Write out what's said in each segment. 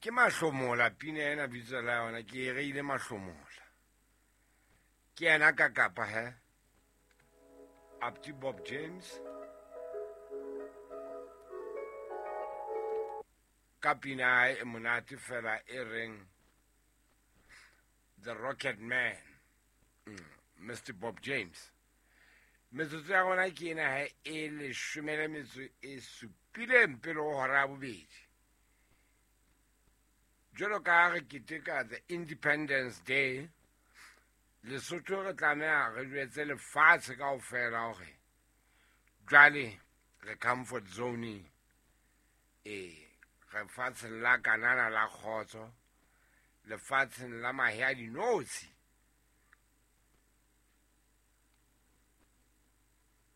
Ke Mahlomola pina ena bitso la yona ke e reile Mahlomola. Ke yena ka kapa he. Apti Bob James. Ka pina ya hae e monate fela e reng The Rocket Man. Mr. Bob James. Metsotso ya rona ke ena he e leshome le metso e supileng pele ho hora ya bobedi. Jwalo ka ha re keteka the Independence Day, Lesotho re tlameha re jwetse lefatshe kaofela hore jwale re comfort zone. Ee, re fatsheng la Kanana la kgotso, lefatsheng la mahe a dinotshi.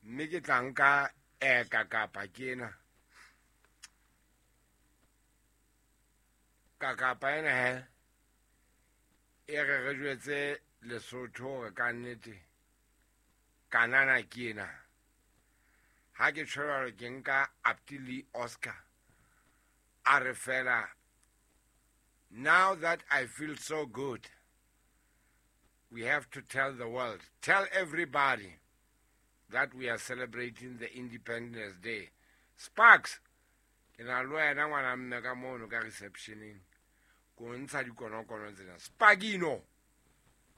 Mme ke tla nka eka kapa ke ena. Ka kapa ena he, e re re jwetse Lesotho hore ka nnete Kanana ke ena. Ha ke tjho jwalo ke nka Apti Lee Oscar a re fela, now that I feel so good, we have to tell the world, tell everybody that we are celebrating the Independence Day. Sparks, ke na le wena ngwana mme ka mono ka receptioneng, ko ntsha dikonokono tsena. Sparkino!